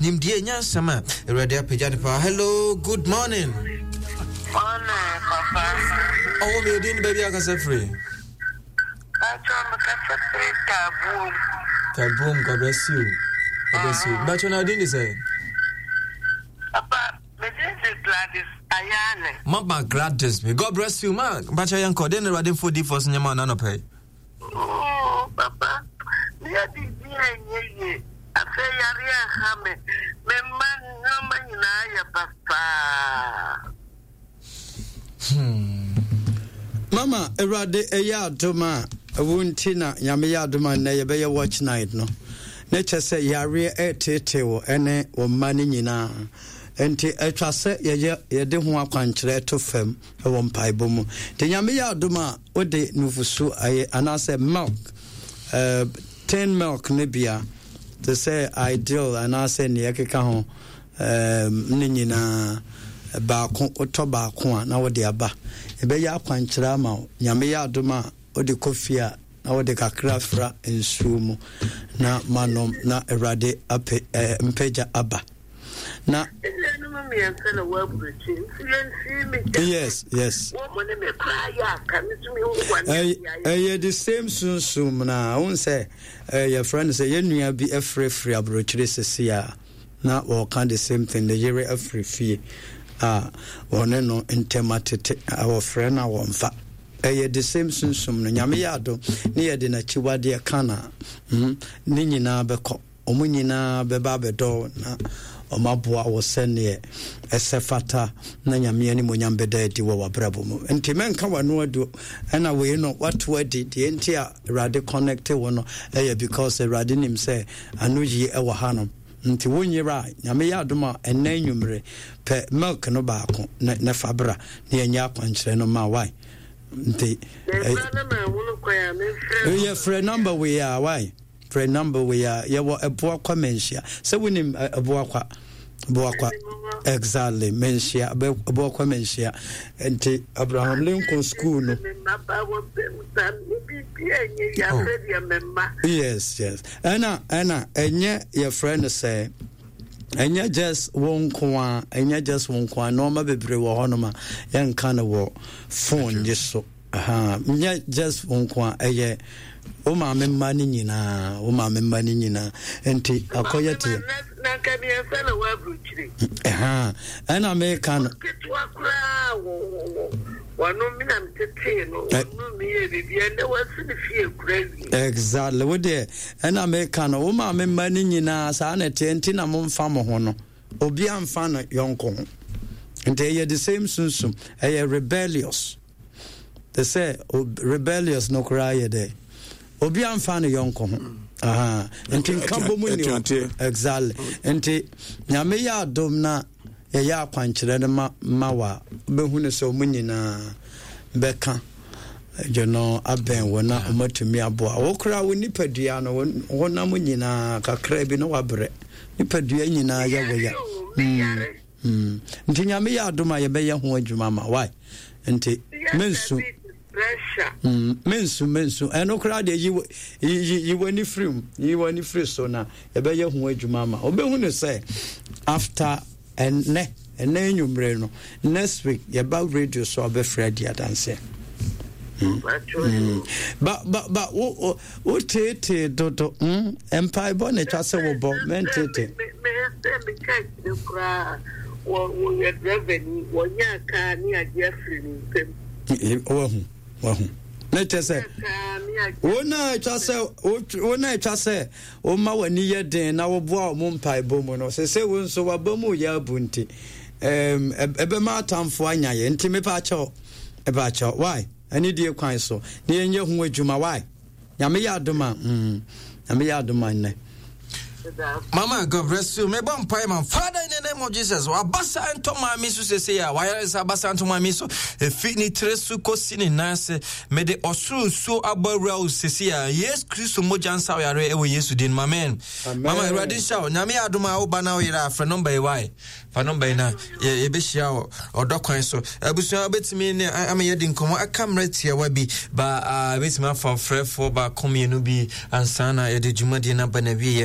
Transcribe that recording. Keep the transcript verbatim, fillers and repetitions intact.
Nimdeɛ nyansɛm a Awurade apagya no paa. Hello, good morning. Morning, papa. Ɔwɔ mi odin baabi akasa firi. Bàtchɔ mekasa firi Tabuom. Tabuom, God bless you. God bless you. Bàtchɔ na odin de sɛ? Papa, me din de Gladys Ayane. Mama Gladys, may God bless you, ma. Bàtchɔ yɛn kɔ, den na Awurade mfo difoɔ so nyɛma ɔna nɔpɛ yi. Oh, papa, meyɛ biribi a ɛnyɛ yie. Afei yareɛ ha me. Me mma nneɛma nyinaa yɛ basaa. Hmm. Mama, Awurade ɛyɛ adom a ɛwo nti na Nyame yɛ adom a nnɛ yɛbɛyɛ watch night no. Ne kyɛ sɛ yareɛ ɛreteetee wo ɛne wo mma no nyinaa. Nti atwa sɛ yɛyɛ yɛde ho akwankyerɛ to fam wɔ mpaebɔ mu. Nti Nyame yɛ adom a wode nufusu ayɛ anaasɛ milk, uh, tin milk no bia te sɛ Ideal anaasɛ nea ɛkeka ho um, ne nyinaa baako, wotɔ baako a na wode aba. Ɛbɛyɛ akwankyerɛ ama wo. Nyame yɛ adom a wode kɔ fie a na wode kakra fra nsuo mu na manom na Awurade apɛ eh, mpagya aba. Na Enuanom mmiɛnsa na wɔ aburokyi nti yɛnsi me gya. Yes, yes. Wɔn mo ne me koraa yɛ aka me tumi hu wɔn ne ayɛ. Ɛyɛ the same sunsum na ahun sɛ yɛfrɛ no sɛ yɛn nua bi afirafiri aburokyire sisi a na wɔka the same thing, ne yere afiri fie a wɔne no ntɛm atete a wɔfrɛ no a wɔmfa. Ɛyɛ the same sunsum no. Nyame yɛ adom ne yɛde n'akyiwadeɛ ka na mm, ne nyinaa bɛkɔ. Wɔn nyinaa bɛba abɛdɔ wo na wɔaboa wo sɛdeɛ ɛsɛ fata na Nyame animuonyam bɛda adi wɔ w'abrabɔ mu. Nti mɛnka w'ano adu ɛna wei no wato adi. Deɛ nti a Awurade connect wo no ɛyɛ because Awurade nim sɛ ano yie ɛwɔ ha no. Nti wo nyera a Nyame yɛ adom a ɛnɛ anwummere pɛ milk no baako na, na fa bra na yɛnyɛ akwankyerɛ no ma why. Nti yɛfrɛ number wei a why. Frɛ number wei a yɛwɔ Ɛboakwa Manhyia. Sɛ wonim Ɛboakwa, Boakwa, exactly, Manhyia, Ɛboakwa Manhyia. Nti Abraham Lincoln School no. Oh. Yes, yes. Ɛna ɛna ɛnyɛ yɛfrɛ no sɛ ɛnyɛ just wo nko a, ɛnyɛ just wo nko a, nneɛma bebree wɔ hɔnom a yɛnka no wɔ phone yi so. Ahaa, nyɛ just wo nko a, ɛyɛ wo maame mma no nyinaa, wo maame mma no nyinaa. Nti akɔyɛ te. Na nka mmiɛnsa na wɔ aburukyire. Ɛhaa, ɛna meka no. Ketewa koraa wɔ wɔ wɔ wɔn mi na metetee no, wɔn mi yɛ biribi ɛnɛ wɔasi ne fie kura wie. Exactly, wo deɛ ɛna meka no, wo maame mma no nyinaa saa na ɛteɛ, nti na momfa mo ho no. Obi amfa no yɔnko ho. Nti ɛyɛ the same sunsum, ɛyɛ rebellious. Te sɛ rebellious no koraa yɛ dɛ obi amfa ne yɔnko ho. Aha. Nti nka bɔ mu ni hɔ. Exactly. Nti Nyame yɛ adom na yɛyɛ akwankyerɛ no ma ma wa bɛhu no sɛ ɔmo nyinaa bɛka you know, abɛn wo na ɔmatumi aboa wo koraa. Wo nipadua no, honam nyinaa kakra bi na wabrɛ, nipadua nyinaa yɛ wo ya. Mm. Mm. Nti Nyame yɛ adom a yɛbɛyɛ ho adwuma ma why. Nti mensu mm, mensu mensu ɛno koraa deɛ yi yi yi w'ani firi mu, yi w'ani firi so na yɛbɛyɛ ho adwuma ma wobɛhu no sɛ after ɛnɛ ɛnɛ anwummere no, next week yɛba radio so a wobɛfrɛ adi adanseɛ. Mm. Mm. Ba ba ba wo wo wo teetee dodo mm mpaebɔ na atwa sɛ wobɔ mɛnteetee. Sɛ meka akyire koraa wɔ wɔyɛ driver ni wɔnyɛ kaa ne agye afiri ne nsam. Wahu, wahu na kyɛ sɛ wo na atwa sɛ wo na atwa sɛ woma w'ani yɛ den na woboa wɔn mpaebɔ mu no sɛ sɛ wo nso waba mu yɛ abu nti ɛbɛma atamfo anya yɛ. Nti mepa akyɛw, mepa akyɛw why ɛne die kwan so na yɛnyɛ ho adwuma why. Nyame yɛ adom a mm, Nyame yɛ adom a nnɛ. Mama, God bless you. Mebɔ mpae ma Father in the name of Jesus. Wabasa ntɔ maame so sese a wayare nsa abasa ntɔ maame so. Efi ne tiri so kɔsi ne nan ase. Mede ɔsoro nsuo abɔ awura wo sese a Yesu Kristo mogya nsa yare ɛwɔ Yesu din mu. Amen. Mama, Awurade nhyira wo. Nyame yɛ adom a woba na woyere a frɛ nɔmba yi wae. Fa nɔmba yi na yɛbɛhyia wɔ ɔdɔ kwan so. Abusua wobɛtumi ne ama yɛdi nkɔmmɔ aka mmerɛ tiawa bi ba a bɛtumi afa frɛfoɔ baako mmienu bi ansa na yɛde dwumadie no aba no awieɛ.